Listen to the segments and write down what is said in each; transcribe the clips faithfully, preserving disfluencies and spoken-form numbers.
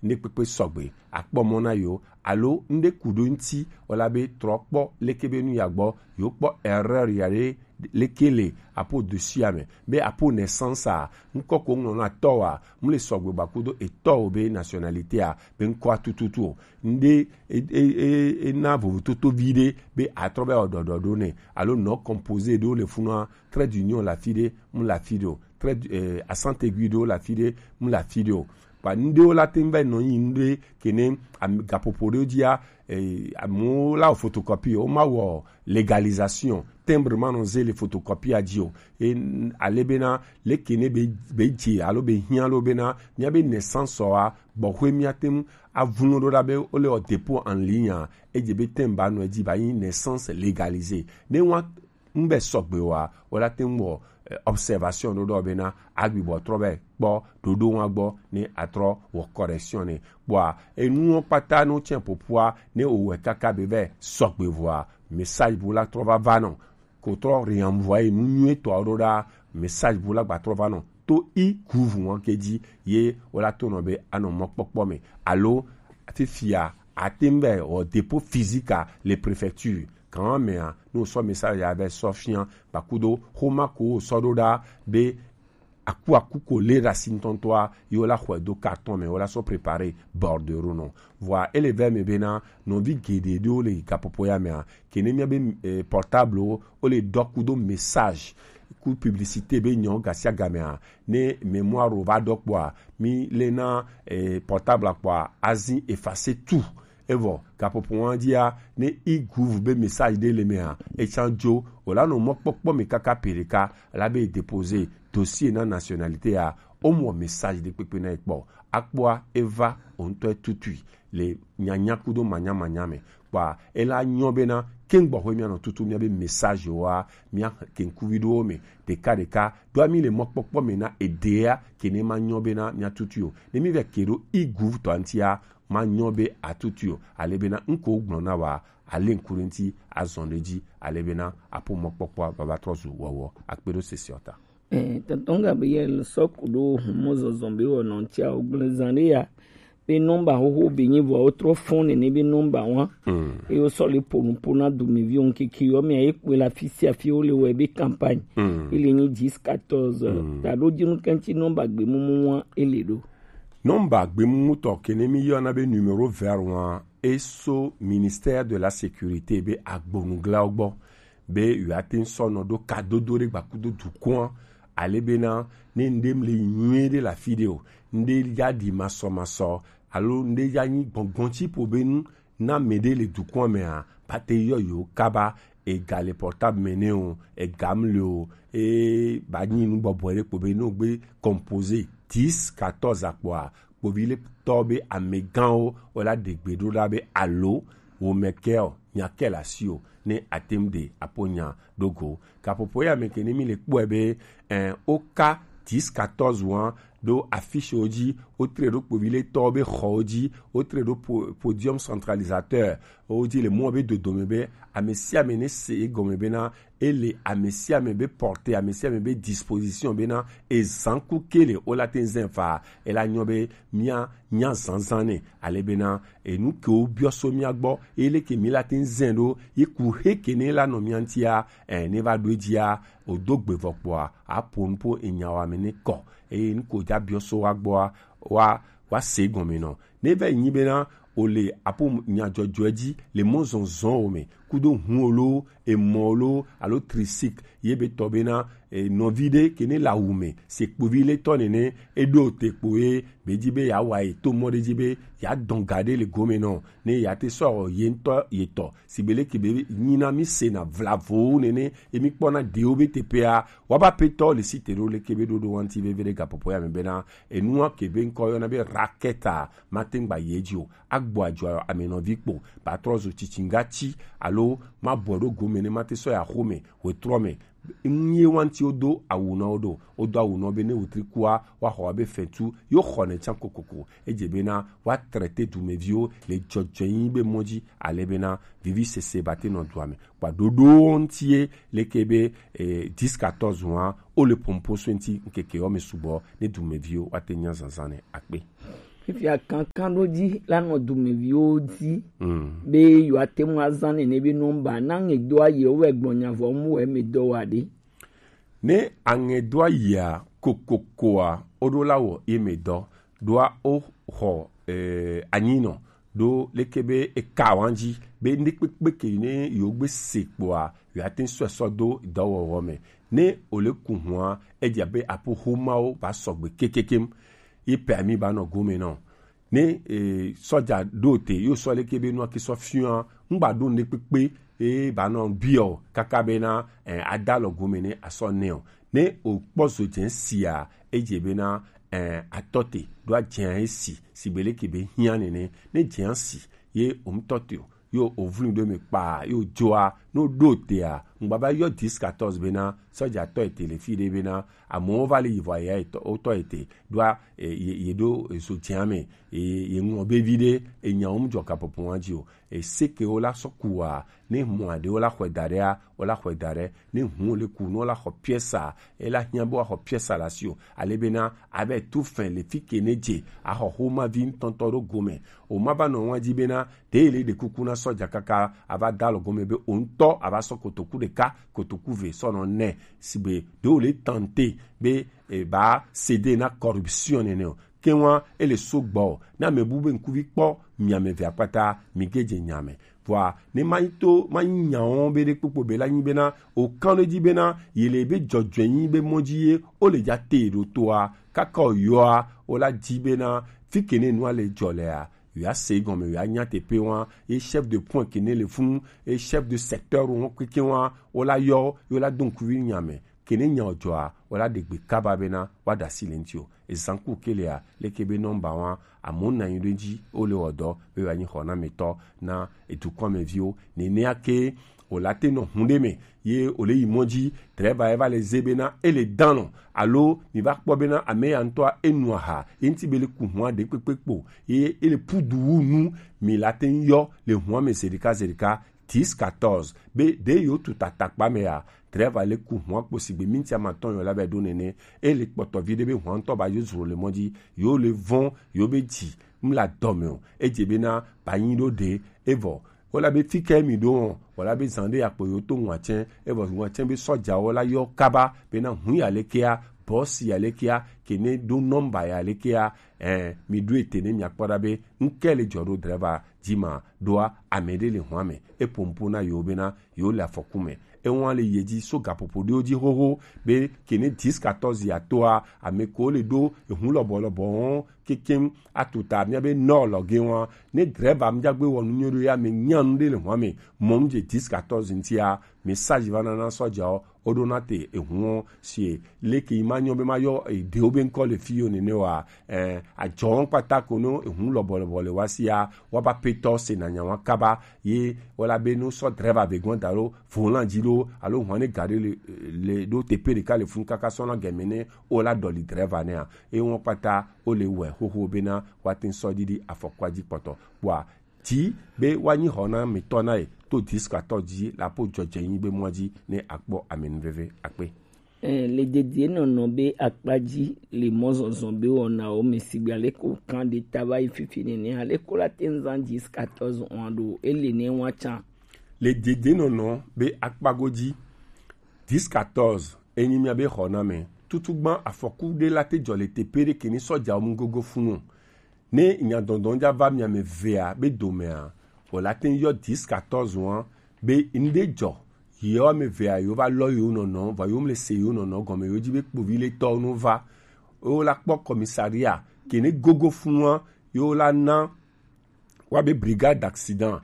ne kpekpe sɔgbe akpɔ mɔ na yo, alo nde kudo ŋti wala be trɔ kpɔ leke be nu ya gbɔ, yo kpɔ erreur ya ɖe leke le apo dosi ame be apo naissance a ŋkɔ ko ŋlɔ na tɔ wa mu le sɔgbe ba kudo etɔ o be nationalité a be ŋkɔ tututu o. Nde e, e, e, e na vovototo vi ɖe be atrɔ be ɔdɔdɔ ɖo ne, alo non composé ɖo le funua, trait d'union la fi ɖe mu la fi ɖe o, trait d- eh, accent aigu ɖo la fi ɖe mu la fi ɖe o. Ba ndewo la te ŋ va nɔ yi nɖe kene am- gaƒoƒo ɖewo dzia, eh, amewo la wɔ photocopie, wo ma wɔ légalisation, timbre ma nɔ ze le photocopie a dzi o. E, ale bena leke ne be be dze alo be hiã lo bena mía be naissance wa gbɔxwe mía te ŋu avunu ɖo ɖa be wo le wɔ dépôt en ligne a, edze be tem ba nɔ edzi ba yi naissance légalisée. Ne wa ŋbɛ sɔgbe wa, wo la te ŋu wɔ eh, observation ɖo ɖɔ bena agbi bɔ trɔ bɛ kpɔ ɖoɖo wa gbɔ ne atrɔ wɔ correction ne. Kpɔa enuwo kpata no tsɛ popua ne o wɛ kaka be vɛ sɔgbe vɔa, message bu la trɔ va va nɔ ko trɔ renvoyer nu nyuie tɔ ɖo ɖa, message bu la gba trɔ va nɔ to i kuvu ŋɔ ke dzi ye wo la to nɔ be anɔ mɔkpɔkpɔ me. Alo fifia ate ŋu bɛ wɔ dépôt physique à les préfectures. Kan mea ne wosɔ message ya vɛ sɔ fia, kpakudo xoma ko wosɔ ɖo ɖa be akuaku ko le ɖe asi ŋutɔŋutɔa, ye wola xɔe do carton me, wola sɔ préparer bordereau nɔ. Vɔa ele vɛ me bena nɔvi geɖe ɖewo le gaƒoƒo ya mea, ke ne mía be eh, portable wo, wole dɔ kudo message ku publicité be nyɔ gasiagamea, ne mémoire wo va dɔ kpɔa, mi le na eh, portable kpɔa, azi effacer tout. Evɔ gaƒoƒo wa dzia, ne i guvu be message ɖe le mea, etsan dzo, o la nɔ mɔkpɔkpɔ me kaka pe ɖeka la be déposer dossier na nationalité ya, o mɔ message ɖe kpekpe na ekpɔ. Akpɔa eva o ŋutɔ tutui le nyanya kudo manyamanya me. Kpɔa ela nyɔ bena keŋ gbɔxwe mía nɔ tutu mía be message wa mía keŋkuvi ɖewo me ɖeka ɖeka ɖoa mi le mɔkpɔkpɔ me na eɖea ke ne ma nyɔ bena mía tutu o. Ne mi vɛ ke ɖo i guvu tɔ ŋutia, ma nyɔ be atutu o. Ale bena ŋko gblɔ na wa, ale ŋku ɖe ŋuti azɔn ɖe dzi, ale bena apo mɔkpɔkpɔa baba trɔ zu wɔwɔ. Akpe ɖo sesiɔ ta. Eh, tɔntɔn Gabriel sɔ ku ɖo humɔ zɔzɔ be wɔ nɔ ŋutia o gblẽ zã ɖe ya. Be nɔmba xoxo be nyi vɔa wotrɔ fɔn nene be nɔmba wa. Mm. Eye wosɔ le ƒo nu ƒo na dumeviwo ŋkeke yɔ mea ye kpɔe le afi sia afi wole wɔe be campagne. Mm. Ele nyi dix quatorze. Mm. Ta ɖo dzinu kɛntsi nɔmba gbemumu wa ele ɖo. Nɔmba gbemumutɔ ke ne mi yɔna be numéro vert wa, eso ministère de la sécurité be agbonuglawo gbɔ be yewoate ŋu sɔ nɔ ɖo kadodo ɖe gbakudo dukɔa, ale bena ne ŋɖe mle nyuie ɖe le afi ɖe o, ŋɖe ya ɖi masɔmasɔ alo ŋɖe ya nyi gbɔngbɔn tsi ƒo be nu na mɛ ɖe le dukɔa mea, ba te yɔ yewo kaba. Ega le portable me ne o, ega mle o, e ba nyi nu bɔbɔe ɖe kpo be ne o gbe composer dix quatorze akpɔa, kpovi le tɔ be amegãwo wala ɖe gbe ɖo ɖa be alo wo me ke o nya ke le asi o ne ate ŋu ɖe apo nya ɖo go. Gaƒoƒo ya me ke ne mi le kpɔe be eh, o ka dix quatorze wa ɖo affiche wo dzi, wo tre ɖo kpovi le tɔ be xɔ wo dzi, wo tre ɖo po, podium centralisateur wo dzi le mɔ be dodome be ame sia ame ne se egɔme bena ele ame sia ame be portée, ame sia ame be disposition bena ezan ku ke le o la te zɛn fa, ela nyɔ be mia nya zanzan ne, ale bena enu ke wo biɔ so mia gbɔ, ele ke mi la te zɛn ɖo, ye ku he ke ne la nɔ mia ŋutia, eh, ne va ɖo edzia, o do gbe vɔ kpɔa, a po nu po enya wa me ne kɔ, eye nu ko dza biɔ so wa gbɔa, wa wa se gɔme nɔ. Ne va yi nyi bena o le apo nyadzɔdzɔe dzi le mɔ zɔzɔ o me, kudo hun o lo, emɔ o lo, alo tricycle, ye be tɔ bena e, nɔvi ɖe ke ne le awu me, se kpovi le tɔ nene, e ɖo te kpo ye be dzi be ya wa ye to mɔ ɖe dzi be ya dɔn ga ɖe le gome nɔ, ne ya te sɔ ye ŋutɔ ye tɔ, si be le ke be nyi na mi se na vlavo nene, e mi kpɔ na ɖewo be teƒea, wa ba pe tɔ le si te ɖo le ke be ɖoɖo wanti veve ɖe gaƒoƒo ya me bena, enua ke be ŋkɔ yɔna be raketa, mate ŋu gba yi edzi o. Agbɔ adzɔ ame nɔvi kpo, ba trɔ zu tsitsingatsi alo mabɔ ɖo gome ne mate sɔ yi axome wetrɔ me. Ŋu ye wanti wodo awu na wo ɖo, wodo awu na wo be ne wetri kua, woaxɔ wo abe fɛtu, yewo xɔnɛ tsã kokoko. Edze bena woatraite dumeviwo le dzɔdzɔenyi be mɔ dzi, ale bena vivisese bate nɔ dua me. Kpa ɖoɖowo ŋuti ye leke be eh, dix quatorze wa, wo le pompo so ŋuti ŋkeke wo me sugbɔ ne dumeviwo woate nya zazã ne akpe. Fifia kankan ɖo dzi la nɔ dumeviwo dzi be yewoate ŋu azã nene be nɔmba na ŋe do ayi wo wɛ gblɔ nya vɔ mu wɛ me dɔ wa ɖe. Ne aŋe do ayia kokokoa, woɖo la wɔ ye me dɔ ɖoa wo xɔ eh, anyinɔ ɖo leke be eka wan dzi be ŋɖekpekpe ke ne yewo gbe se kpoa yewoate ŋu sɔe sɔ do dɔwɔwɔ me. Ne wòle ku hua, edze abe aƒoxomawo va sɔgbe kekekem. Ye pɛa mi ba nɔ gome nɔ. Ne eh, sɔdza ɖo te yo sɔ leke be nua ke sɔ fiɔa ŋgba ɖo ŋɖekpekpe ye ba nɔ biɔ kaka bena eh, ada lɔ gome ne asɔ nɛ o. Ne o kpɔ zo dze sia, edze bena eh, atɔ te ɖo adze esi sigbe leke be hiã nene. Ne dze si ye o ŋutɔ te o yo o vlu ɖo me kpa yo dzoa no ɖo tea ŋgba va yɔ dix quatorze bena sɔdza tɔ ete le fi ɖe bena amewo va le yi vɔ ya etɔ wotɔ ete ɖoa ye ɖo ezo dze me ye ŋlɔ be vi ɖe enya wo mu dzɔ kapopo wa dzi o. Ese ke wo la sɔ ku wa ne mɔ aɖe wo la xɔe da ɖea wo la xɔe da ɖe ne hu wo le ku ne wo la xɔ pièce e la hiã be wa xɔ pièce la si o. Ale bena abe tu fɛn le fi ke ne dze axɔ xoma vi ŋutɔŋutɔ ɖo gome o ma va nɔ wa dzi bena ɖe le ɖe kuku na sɔdza kaka ava da lɔ gome be o ŋutɔ ava sɔ kotoku ɖeka kotoku ve sɔ nɔ nɛ sigbe ɖe wo le tante be e ba sede na corruption nene o. Ke wa ele so gbɔ o na me bu be ŋkuvi kpɔ mi ame ve akpata mi ge dze nya me. Vɔa ne ma yi to ma yi nya wɔn be ɖe kpokpo be la nyi bena o kan ɖe dzi bena yi le be dzɔdzɔe nyi be mɔ dzi ye o le dza te ɖo toa kaka o yɔa o la dzi bena fi ke ne nua le dzɔ lea yo ase gɔme yo anya teƒe wa ye chef de point ke ne le funu ye chef de secteur wo keke wa wo la yɔ yo la do ŋkuvi nya me ke ne nya o dzɔa wo la ɖe gbe kaba bena wa ɖe asi le ŋuti o. Ezan ku ke lea leke be nɔmba wa amewo na anyi ɖo edzi wo le wɔ dɔ be wa nyi xɔnametɔ na edukɔ me viwo nenea ke o la te nɔ hun ɖe me ye o le yi mɔ dzi. Drɛva ye va le ze bena e le dan nɔ alo mi va kpɔ bena ame ya ŋutɔa e nu aha ye ŋuti be le ku hua ɖe kpekpe kpo ye e le pudu wu nu mi la te ŋu yɔ le hua me zeɖeka zeɖeka dix quatorze be ɖe yewo tu tatakpa me ya. Drɛva le ku hua kpo sigbe minti amatɔn yewo la va ɖo nene e le kpɔtɔ vi ɖe be hua ŋutɔ ba yo zro le mɔ dzi yewo le vɔn yewo be dzi ŋu le adɔ me o. Edze bena ba nyi ɖo ɖe evɔ wo la be fi ke mi ɖo wɔn wɔ la be zan ɖe akpo yewo to ŋua tsɛ evɔ ŋua tsɛ be sɔdzawo la yɔ kaba bena hu ya lekea bɔsi ya lekea ke ne ɖo nɔmba ya lekea ɛ mi ɖo ete ne mi akpɔ ɖa be ŋke le dzɔ ɖo drɛva dzi ma ɖoa ame ɖe le hua me e pompo na yewo bena yewo le afɔku me. Ewa le ye dzi so gaƒoƒo ɖewo dzi xoxo be ke ne dix quatorze ya toa ame ko le ɖo ehu lɔbɔ lɔbɔ wɔn kekem atuta miabe nɔ lɔge wa ne drɛva miagbe wɔ nu nyuie ɖo ya me nya nu ɖe le hua me mɔ nu dze dix quatorze ŋutia message va nana sɔdzawo woɖo na te ehu si leke yi ma nyɔ be ma yɔ eɖewo be ŋkɔ le fi yo nene wa eh, adzɔ kpata ko no ehu lɔbɔ lɔbɔ le wa sia wa ba petɔ se na nya wa kaba ye wala be no sɔ drɛva be gbɔn da lo volan dzi lo alo hɔn ne ga ɖe le le ɖo teƒe ɖeka le funu kaka sɔ na gɛmɛ ne wola dɔli drɛva nea eye wɔn kpata wole wɔe xoxo bena woate ŋu sɔ ɖiɖi afɔkua dzi kpɔtɔ kpɔa di be woanyi xɔnametɔ na ye to diskatɔ dzi le aƒo dzɔdzɔenyi be mɔa dzi ne akpɔ amenuveve akpe. Eh, le dedie nɔnɔ be akpa dzi le mɔzɔzɔ be wɔnawo me sigbe aleke wòkan ɖe ta va yi fifi nene aleke wola te ŋu zã dix quatorze oa ɖo ele ne woatsã. Le dedie nɔnɔ be akpa godzi dix quatorze enyi mia be xɔname tutugbã afɔku ɖe la te dzɔ le teƒe ɖe ke ni sɔdzawo mu gogo funu o. Ne nyadɔdɔ dza va mia me vea be domea, wòle ate ŋu yɔ dix quatorze wa be ŋɖe dzɔ yewo ame vea yewo va lɔ yewo nɔnɔ vɔ yewo mle se yewo nɔnɔ gɔme yewo dzi be kpovi le tɔwo no va yewo la kpɔ commissariat ke ne gogo funu wa yewo la na wa be brigade d'accident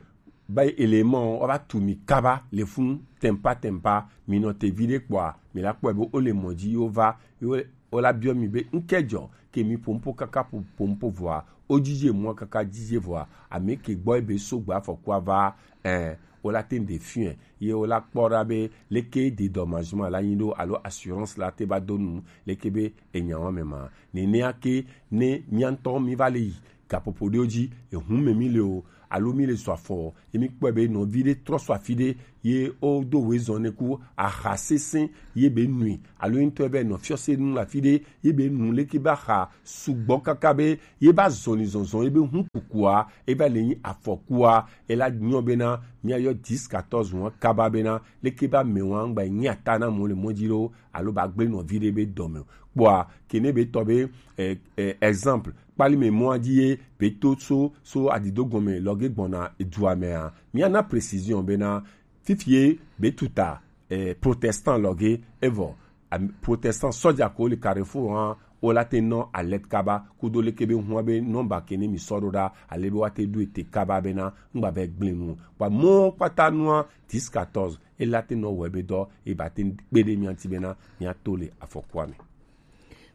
ba élément wa va tu mi kaba le funu tempa tempa mi nɔ te vi ɖe kpɔa mi la kpɔe be wo le mɔ dzi yewo va yewo wola biɔ mi be ŋke dzɔ ke mi pompo kaka po- pompo vɔa wo dzidze mɔ kaka dzidze vɔa ame ke gbɔ ebe so gba afɔkua va eh, wola te ɖe fiɛ ye wola kpɔ ɖa be leke dédommagement la nyi ɖo alo assurance la te va do nu leke be enya wa me ma nenea ke ne mia ŋutɔ mi va le yi gaƒoƒo ɖewo dzi, ehu me mi le o, alo mi le zɔ afɔ, ye mi kpɔe be nɔvi ɖe trɔ sɔ afi ɖe, ye wodo wezɔn ne ku aha sesẽ, ye be nui, alo ye ŋutɔ be nɔ fiɔse nu le afi ɖe, ye be nu leke be aha sugbɔ kaka be ye be azɔlizɔzɔ, ye be hu kukua, ye va le nyi afɔkua, ela nyɔ bena miayɔ dix quatorze ŋua kaba bena leke be amewa ŋgba nyi ata na mo le mɔ dzi ɖo, alo ba gblẽ nɔ viɖe be dɔme o. Kpɔa, kene be tɔ be, eh, eh, exemple, kpali me mɔa dzi ye be to so, so adido gɔme lɔge gbɔna edua mea, miana précision bena fifie be tuta, eh, protestant lɔge, evɔ, am-, protestant sɔja ko le carrefour hã, wo la te nɔ alerte kaba, kudo leke be hua be nɔmba kene mi sɔ ɖo ɖa, ale be wa te ɖo ete kaba bena ŋgba be gblẽ nu. Kpa mɔ kpata nua, dix quatorze, e la te nɔ wɔ ebe dɔ, e ba te kpe ɖe mia ŋuti bena mia to le afɔkua me.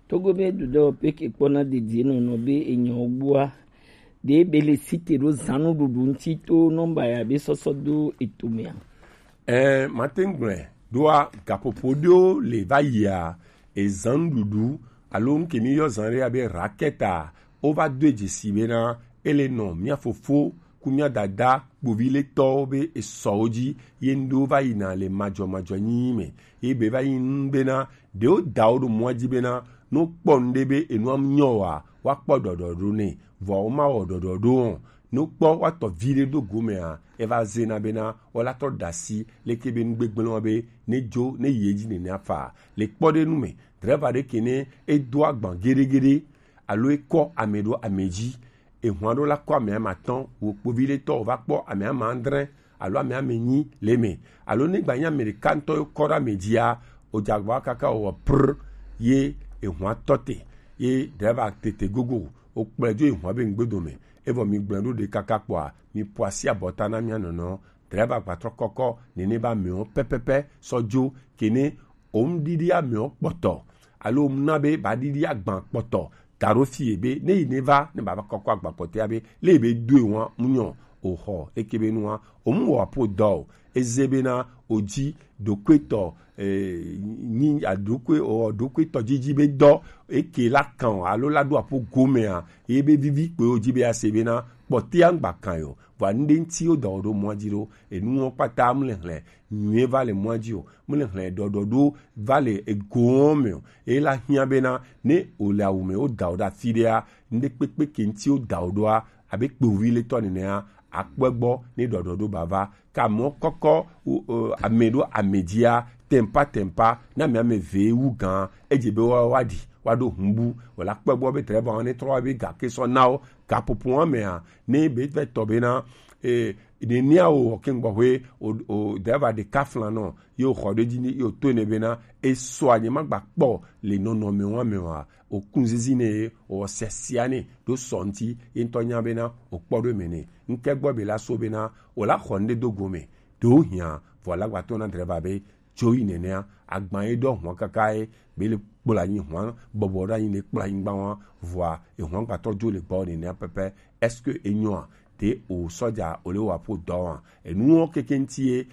Togo be dudɔ peke kpɔna dedie nɔnɔ be enyɔ gbua, de be le site ɖo zanu ɖuɖu ŋuti to nɔmba ya be sɔsɔ do eto mea. Ɛɛ, mate ŋu gblɔe ɖoa, gaƒoƒo ɖewo le va yia, ezan ɖuɖu, alo ŋke mi yɔ zan ɖe abe rakɛta, wova do dzesi bena ele nɔ mia fofo ku mia dada kpovi le tɔwo be esɔwo dzi, ye ŋɖewo va yina le madzɔmadzɔ nyi me, ye be va yi nu bena ɖewo dawo ɖo mɔa dzi bena ne wokpɔ nu ɖe be enua nyɔ wa, woakpɔ ɖɔɖɔɖo nɛ, vɔa womawɔ ɖɔɖɔɖo o. Ne wokpɔ woatɔ vi ɖe ɖo gomea, eva zena bena wola trɔ ɖe asi leke be nu gbegblẽ wa be ne dzo, ne yi edzi nene afa. Le kpɔɖenu me, drɛva ɖe ke ne edo agban geɖegeɖe, alo ekɔ ame ɖo ame dzi, ehwan ɖo la kɔ ame ame atɔ̃, wo kpovi ɖe tɔ wova kpɔ ame ame adre alo ame ame enyi le eme, alo ne gba nyi ame ɖeka ŋutɔ ye kɔ ɖe ame dzia, wodze agba kaka wɔ pr ye ehwan tɔ te, ye drɛva tete gogo, wokplɔe dzo ehwan be ŋgbedome. Evɔ mi gblẽ ɖo ɖe kaka kpɔa, mi ƒo asi abɔta na mia nɔnɔ. Drɛva gbatrɔ kɔkɔ nene be amewo pɛpɛpɛ sɔ dzo, kene wo ŋɖiɖi amewo kpɔtɔ, alo wo na be ba ɖiɖi agban kpɔtɔ, da ɖo fie be ne yi ne va, ne baba kɔkɔ agban kpɔtɔa be le be doe wa mu nyɔ o xɔ leke be nua, o mu wɔ apo dɔ o, eze bena o dzi ɖokuitɔ, eh, nyi aɖokui o ɖokuitɔ dzidzi be dɔ eke la kan o, alo la ɖo apo gomea, ye be vivi kpe o dzi be ase bena kpɔtɔa ŋgba kan yo. Vɔa nu ɖe ŋuti wo dɔ ɖo mɔa dzi ɖo, enuwo kpata mu le hlɛ nyuie va le mɔa dzi o, mu le hlɛ ɖɔɖɔɖo va le egoɔ me o. Eye la hiã bena ne o le awu me, wo da o ɖe afi ɖea, nu ɖe kpekpe ke ŋuti wo da o ɖoa, abe kpovi le tɔ nenea, akpɔe gbɔ ne ɖɔɖɔɖo ba va. Ka mɔ kɔkɔ, o, o, ame ɖo ame dzia, tempa tempa, na ame ame ve wu gã, edze be wa wa ɖi, wa ɖo hun bu, wala kpɔe gbɔ be drɛva ne trɔ wa be ga ke sɔ na wo, gaƒoƒo wa mea, ne be vɛ tɔ bena, eh, nenea wo wɔ ke ŋgbɔ ƒe o, o, drɛva ɖeka flan nɔ, ye wòxɔ ɖe edzi ni, ye wòtɔe nɛ bena, esɔa nye magba kpɔ le nɔnɔme wa me wa, wòkun zizi nɛ ye wòwɔ siasia nɛ ɖo sɔ ŋuti, ye ŋutɔ nya bena wòkpɔ ɖo eme nɛ. Ŋke gbɔ be la so bena wòla xɔ nu ɖe do gome, ɖewo hiã, vɔ la gba tɔ na drɛva be dzo yi nenea, agban ye ɖɔ hɔn kaka ye, be le kplɔ anyi hɔn, bɔbɔ ɖe anyi ne kplɔ anyigba wa, vɔa, ehɔn gba tɔ dzo le gbɔ nenea pɛpɛ, est-ce que enyɔa? Te o sɔja o le wa ƒo dɔ wa? Enuwo keke ŋuti ye,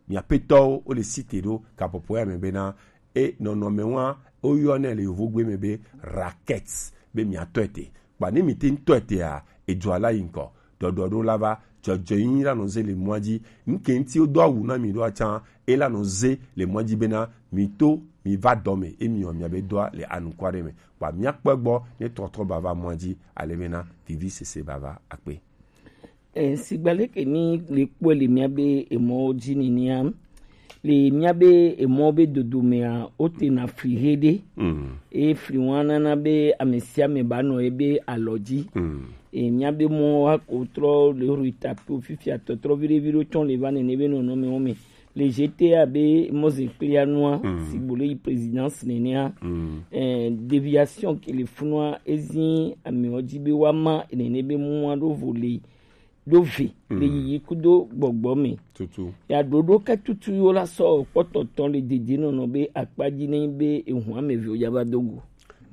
mia petɔwo, wo le site ɖo gaƒoƒo ya me bena, e nɔnɔme wa, wo yɔ nɛ le yovogbe me be racket, be mia tɔ ete. Kpa ne mi te ŋutɔ etea, edzo ala yi ŋkɔ. Ɖɔɖɔɖo la va, dzɔdzɔenyi la nɔ ze le mɔa dzi. Ŋke ŋuti wodo awu na mi ɖoa tsã, e la nɔ ze le mɔa dzi bena mi to, mi va dɔ me, emi wɔ mia be dɔa le anukua ɖe me. Kpa mia kpɔe gbɔ ne trɔtrɔ ba va mɔa dzi, ale bena vivi sese ba va akpe. E, sigba leke ni le kpɔe le mia be emɔwo dzi nenea, le mia be emɔ be dodo mea, wote na fli he ɖe. Mm. Eye fli wa nana be ame sia ame ba nɔ ebe alɔ dzi. Mm. Eye mia be mɔ wa ko trɔ le ru tapiwo fifia tɔtrɔ viɖe viɖe tsɔ le va nene be nɔnɔme wo me. Le G T A be mɔzin kplia nua, mm, si bo le yi présidence nenea. Mm. Eh, déviation ke le funua ezi amewo dzi be wa ma nene be mua ɖo vo le ɖo ve le yiyi kudo gbɔgbɔ me. Tutu. Ya ɖoɖo ke tutu yo la sɔ kpɔtɔtɔ le dede nɔnɔ be akpa dzi ne be ehun ame ve o ya va do go.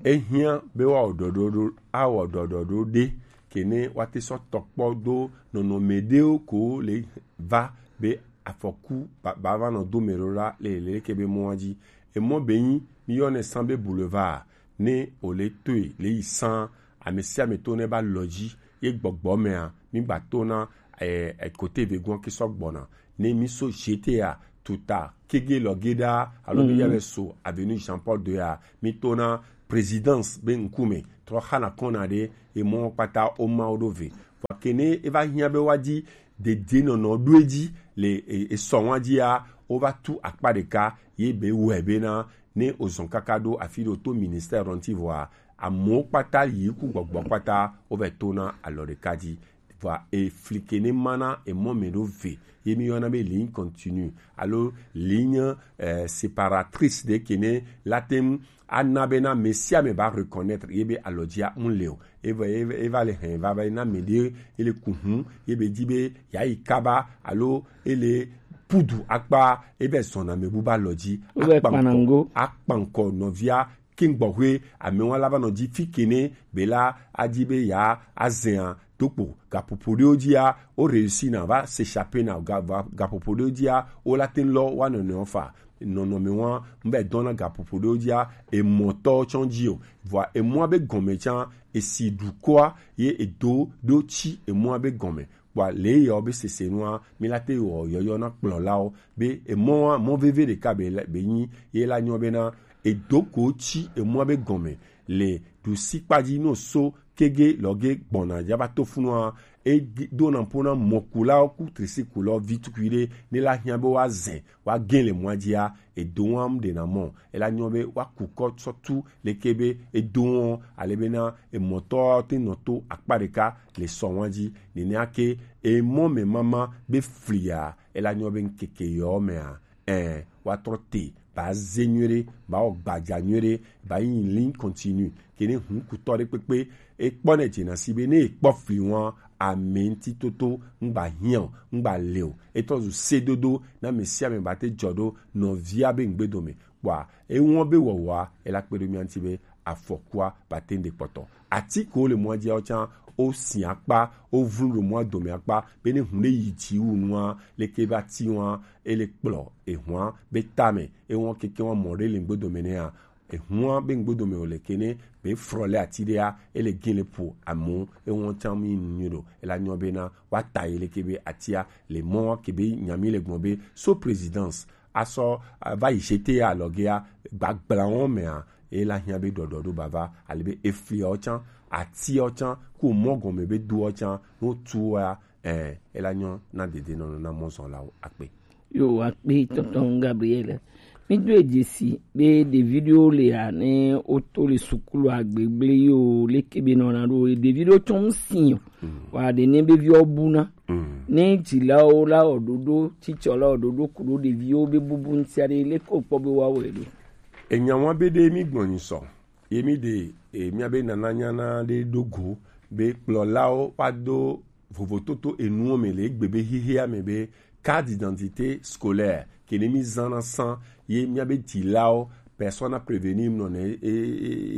Ehiã be wa wɔ ɖɔɖɔɖo, awɔ ɖɔɖɔɖo ɖe, ke ne wa te sɔ tɔkpɔ do nɔnɔme ɖewo ko le va be afɔku ba, ba va nɔ do me ɖo la le, le ke be mɔa dzi. Emɔ be nyi, mi yɔ ne san be boulevard, ne o le toe le yi san, ame sia ame to ne ba lɔ dzi, Ye gbɔgbɔ mɛa, mi gba to na eh, eh, kote vegun ke sɔ gbɔna. Ne mi so G T A tuta kege lɔ ge ɖa, alo mi ya bɛ so avenue Jean Paul deux a, mi to na présidence be ŋkume trɔ xana kɔna ɖe, emɔ kpata o ma o ɖo ve. Vɔ ke ne e va hiã be wa di dede nɔnɔ ɖo edzi le e- esɔ wa dzia, o va tu akpa ɖeka ye be wɛ be na ne o zɔn kaka ɖo afi ɖo to ministère ɖɔ ŋuti vɔa, amewo kpata yi ku gbɔgbɔ kpata wo vɛ to na alɔ ɖeka dzi. Vɔa efli ke ne ma na emɔ mɛ ɖo ve ye mi yɔna be ligne continue alo ligne eh, séparatrice ɖe ke ne la te ŋu ana be na mɛ sia mɛ ba reconnaître ye be alɔ dzia ŋu le o. E va e va- e va le hɛn va va na mɛ ɖe e le ku hu ye be di be ya yi kaba alo e le pudu akpa e be zɔna mɛ bu ba lɔ dzi. Wo be kpanango. Akpankɔ nɔvia kingbɔhwe amewo la va nɔ dzi fi kene be la adi be ya azɛa dokpo gaƒoƒo ɖewo dzia o réussi na va s'échapper na ga- va- gaƒoƒo ɖewo dzia o la te lɔ wa nɔnɔewo fa nɔnɔme wa n bɛ dɔn na gaƒoƒo ɖewo dzia emɔtɔ tsɔ dzi o vɔa emɔa be gɔme tsã esi dukɔa ye edo ɖo tsi emɔa be gɔme kpɔa le yɔ be sese nua mi la te wɔ yɔyɔ na kplɔlawo be emɔa mɔ veve ɖeka be le- be nyi ye la nyɔ be na edo ko tsi emɔa be gɔme le ɖusi kpadzi no so kege lɔge gbɔna dza va to funua e do na ƒo na mɔkulawo ku trisikulɔ vi tukui ɖe ne la hiã be woazɛ woagẽ le mɔa dzia edo wɔm ɖe na mɔ ela nyɔ be woaku kɔ sɔ tu leke be edo wɔm ale be na emɔtɔ te nɔ to akpa ɖeka le sɔ wɔn dzi nenea ke emɔ me mama be flia ela nyɔ be ŋkeke yɔ mea ɛ woatrɔ te ba ze nyuie ɖe ba wɔ gbadza nyuie ɖe ba yi ligne continue ke ne hun kutɔ ɖe kpekpe ekpɔ ne dzena si be ne ekpɔ fli wɔn ame ŋuti toto ŋgba hiã o ŋgba le o etɔ zu sedodo na ame sia ame ba te dzɔ ɖo nɔvia be ŋgbedome kpɔa ewɔn be wɔwɔa ela kpe ɖo mia ŋuti be afɔkua ba te ŋɖe kpɔtɔ ati ko le mɔa dzia wotsã wosi akpa wovlu ɖo mɔa dome akpa be ne hun ɖe yi dzi wu nua leke be ati wɔn ele kplɔ ehua be tame ewɔn keke wɔn mɔ ɖe le ŋgbedome nɛa ehua be ŋgbedome o le kene be frɔ le ati ɖea ele gin le po amu ewɔn tsã mi nu nyuie ɖo ela nyɔ be na wa ta yi leke be atia le mɔ ke be nyami le gbɔn be so présidence asɔ va yi jete alɔgea gbagbla wɔn mea ela hiã be ɖɔɖɔ ɖo bava ale be efliawo tsã atiawo tsã ko mɔ gɔme be doawo tsã no tu wa eh ela nyɔ na dede nɔnɔ na mɔzɔnlawo akpe. Yo akpe tɔntɔn Gabriel. Mi do edzi si be ɖevi ɖewo le ya ne woto le sukulu agbegble yo leke be nɔna ɖo ɖevi ɖewo tsɔ ŋsi o wa ɖe ne be viwo buna ne dzilawo la wɔ ɖoɖo tsitsɔ la wɔ ɖoɖo ku ɖo ɖeviwo be bubu ŋuti aɖe leke wokpɔ be woawɔe ɖo. Enya wa be ɖe mi gbɔnyi sɔ ye mi ɖe e, miabe nananyana ɖe ɖo go be kplɔlawo wa do vovototo enuwo me le egbe be xexea me be carte d'identité scolaire ke ne mi zãna sã ye miabe dzilawo personne à prévenir nɔ ne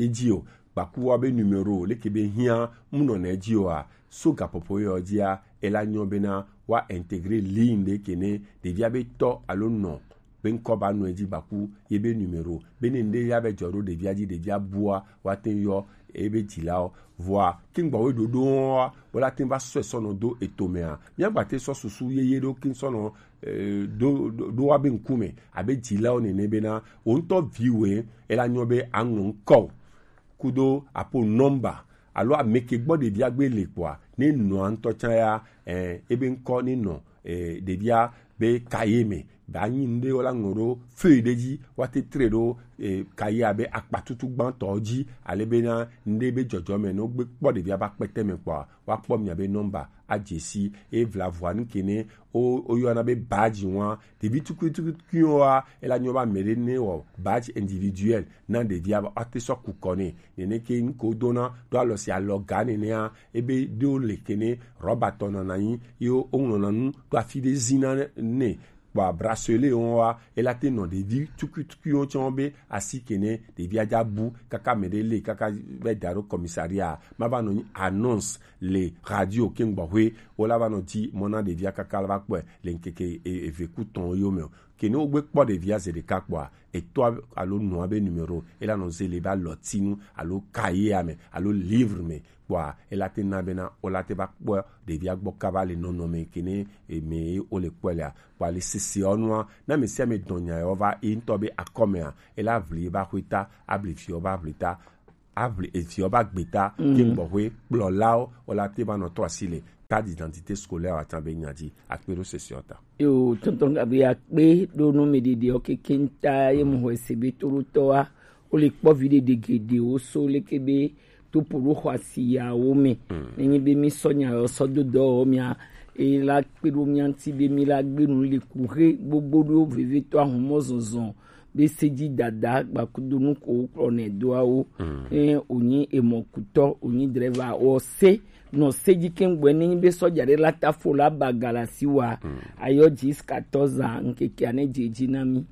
edzi o gbakuwa be numéro leke be hiã mu nɔ ne edzi oa so gaƒoƒo yɔ dzia ela nyɔ bena wa intégrer ligne ɖe ke ne ɖevia be tɔ alo nɔ be ŋkɔ ba nɔ edzi gbaku ye be numéro be ne ŋɖe ya be dzɔ ɖo ɖevia dzi ɖevia bua wa te yɔ ebe dzilawo vɔa kingbawo ɖoɖo wa wo la te va sɔe sɔnɔ do eto mea míagba te sɔ susu yeye ɖo kin sɔnɔ eh, ɖo ɖo- ɖo wa be ŋkume abe dzilawo nene bena wo ŋutɔ viwoe ela nyɔ be aŋlɔ ŋkɔ kudo apo nɔmba alo ame ke gbɔ ɖevia gbe le kpɔa ne nɔa ŋutɔ tsã ya eh, ebe ŋkɔ ne nɔ eh, ɖevia be kaye me ba nyi ŋɖe wo la ŋlɔ ɖo feuille ɖe dzi wa te tre ɖo eh, kaye abe akpatutu gbãtɔ dzi ale be na ŋɖe be dzɔdzɔ me ne wogbe kpɔ ɖevia ba kpɛtɛ me kpɔa wa kpɔ mia be nɔmba adze si eye vla vɔa nu ke ne wo wo yɔna be badge wa ɖevi tukui tukui wa ela nyɔ ba me ɖe ne wɔ badge individuel na ɖevia ba wa te sɔ ku kɔ ne nene ke ŋko dona ɖo alɔ si alɔ ga nenea ebe ɖewo le kene rɔba tɔ nana nyi ye wo ŋlɔna nu ɖo afi ɖe zina ne kpɔa bracelet wo wa ela te nɔ ɖevi tukui tukui wo tsɔ be asi kene ɖevia dza bu kaka me ɖe le kaka be da ɖo commissariat ma va nɔ nyi annonce le radio ke ŋgbɔxwe wo la va nɔ di mɔ na ɖevia kaka la va kpɔe le ŋkeke e- eve ku tɔn yo me o kene wo gbe kpɔ ɖevia ze ɖeka kpɔa etɔ alo nɔa be numéro ela nɔ ze le be alɔtinu alo cahier me alo livre me kpɔa, ela te na bena o la te va kpɔ ɖevia gbɔ kaba le nɔnɔme ke ne eme o le kpɔe lea. Kpɔa le sisi ɔ nua, na ame sia ame dɔn nya yɔ va e ŋutɔ be akɔmea, ela vli e va xwe ta, abli vi ɔ va vli ta, abli evi ɔ va gbe ta, ke gbɔxwe kplɔlawo o la te va nɔ tɔ asi le carte d'identité scolaire atan be nya dzi akpe ɖo sisi ɔ ta. Yo, tonton Gabriel, akpe ɖo nu mi ɖiɖi ɔ keke ŋta ye mu hɔ ese be to ɖo tɔ wa. Wo le kpɔ vi ɖeɖe geɖewo so leke be to po ɖo xɔ asi yawo me. Nenye be mi sɔ nya yɔ sɔ do dɔ wɔ mia, e la kpe ɖo mia ŋti be mi la gbe nu le ku he gbogbo ɖo vevetɔ ahumɔ zɔzɔ be se dzi dada gbakudonu ko wo kplɔ nɛ doawo. Ne wonyi emɔkutɔ, wonyi drɛva, wɔ se nɔ se dzi keŋgbɔɛ. Nenye be sɔja ɖe la ta fo la ba galasi wa, ayɔ dzi quatorze ans ŋkekea ne dze dzi na mi.